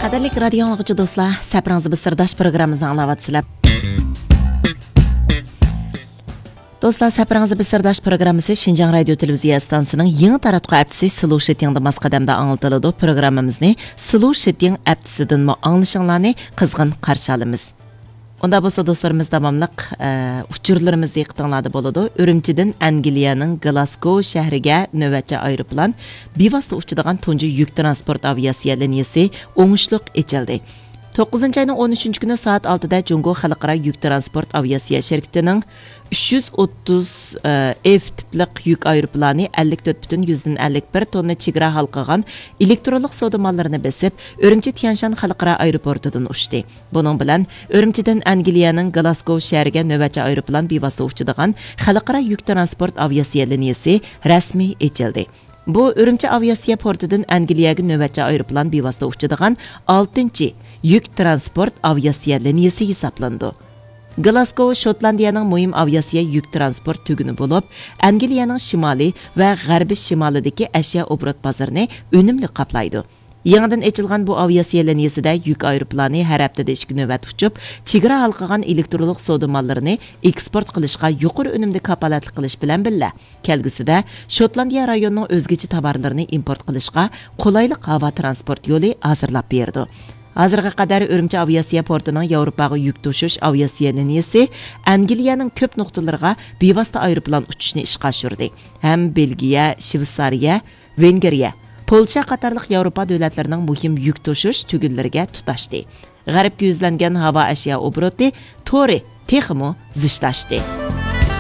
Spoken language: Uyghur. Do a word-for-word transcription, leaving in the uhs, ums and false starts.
قەدىرلىك رادىيو ئاڭلىغۇچى دوستلار، سەپىرىڭىزدە بىر سىرداش پروگراممىمىزنى ئاڭلاۋاتىسىلەر. دوستلار، سەپىرىڭىزدە بىر سىرداش پروگراممىسى شىنجاڭ رادىيو تېلېۋىزىيە ئىستانسىسىنىڭ يېڭى تاراتقۇ ھەپتىسى سلو شىتىڭدا ماس قەدەمدە ئاڭلىتىلىدۇ. پروگراممىمىزنى سلو شىتىڭ ھەپتىسىدىنمۇ ئاڭلىشىڭلارنى قىزغىن قارشى ئالىمىز. ئۇندا بولسا دوستلىرىمىز داۋاملىق، ئە، ئۇچۇرلىرىمىز دىققىتىڭلاردا بولىدۇ. ئۈرۈمچىدىن ئەنگلىيەنىڭ گلاسگو شەھىرىگە نۆۋەتچى ئايروپىلان بىۋاسىتە ئۇچىدىغان تۇنجى يۈك ترانسپورت ئاۋىئاتسىيە لىنىيىسى ئوڭۇشلۇق ئېچىلدى. توققۇزىنچى ئاينىڭ ئون ئۈچىنچى كۈنى سائەت ئالتىدە جۇڭگو خەلقئارا يۈك ترانسپورت ئاۋىئاتسىيە شىركىتىنىڭ ئۈچ يۈز ئوتتۇز ئېف تىپلىق يۈك ئايروپىلانى ئەللىك تۆت پۈتۈن يۈزدىن ئەللىك بىر توننا چېگرا ھالقىغان ئېلېكترونلۇق سودا ماللىرىنى بېسىپ، ئۈرۈمچى تيەنشان خەلقئارا ئايروپورتىدىن ئۇچتى. بۇنىڭ بىلەن ئۈرۈمچىدىن ئەنگلىيەنىڭ گلاسگو شەھىرىگە نۆۋەتچى ئايروپىلان بىۋاسىتە ئۇچىدىغان خەلقئارا يۈك ترانسپورت ئاۋىئاتسىيە لىنىيىسى رەسمىي ئېچىلدى. بۇ ئۈرۈمچى ئاۋىئاتسىيە پورتىدىن ئەنگلىيەگە نۆۋەتچى ئايروپىلان بىۋاسىتە ئۇچىدىغان ئالتىنچى يۈك ترانسپورت ئاۋىئاتسىيە لىنىيىسى ھېسابلىنىدۇ. گلاسگو شوتلاندىيەنىڭ مۇھىم ئاۋىئاتسىيە يۈك ترانسپورت تۈگۈنى بولۇپ، ئەنگلىيەنىڭ شىمالى ۋە غەربىي شىمالىدىكى ئەشيا ئوبوروت بازىرىنى ئۈنۈملۈك قاپلايدۇ. يېڭىدىن ئېچىلغان بۇ ئاۋىئاتسىيە لىنىيىسىدە يۈك ئايروپىلانى ھەر ھەپتىدە ئىككى نۆۋەت ئۇچۇپ، چېگرا ھالقىغان ئېلېكترونلۇق سودا ماللىرىنى ئېكسپورت قىلىشقا يۇقىرى ئۈنۈمدە كاپالەتلىك قىلىش بىلەن بىللە، كەلگۈسىدە شوتلاندىيە رايونىنىڭ ئۆزگىچە تاۋارلىرىنى ئىمپورت قىلىشقا قولايلىق ھاۋا ترانسپورت يولى ھازىرلاپ بېرىدۇ. ھازىرغا قەدەر ئۈرۈمچى ئاۋىئاتسىيە پورتىنىڭ ياۋروپاغا يۈك توشۇش ئاۋىئاتسىيە لىنىيىسى ئەنگلىيەنىڭ كۆپ نۇقتىلىرىغا بىۋاسىتە ئايروپىلان ئۇچۇشنى ئىشقا ئاشۇردى ھەم بېلگىيە، شۋېتسارىيە، ۋېنگرىيە، پولشا قاتارلىق ياۋروپا دۆلەتلىرىنىڭ مۇھىم يۈك توشۇش تۈگۈنلىرىگە تۇتاشتى. غەربكە يۈزلەنگەن ھاۋا ئەشيا ئوبوروتى تورى تېخىمۇ زىچلاشتى.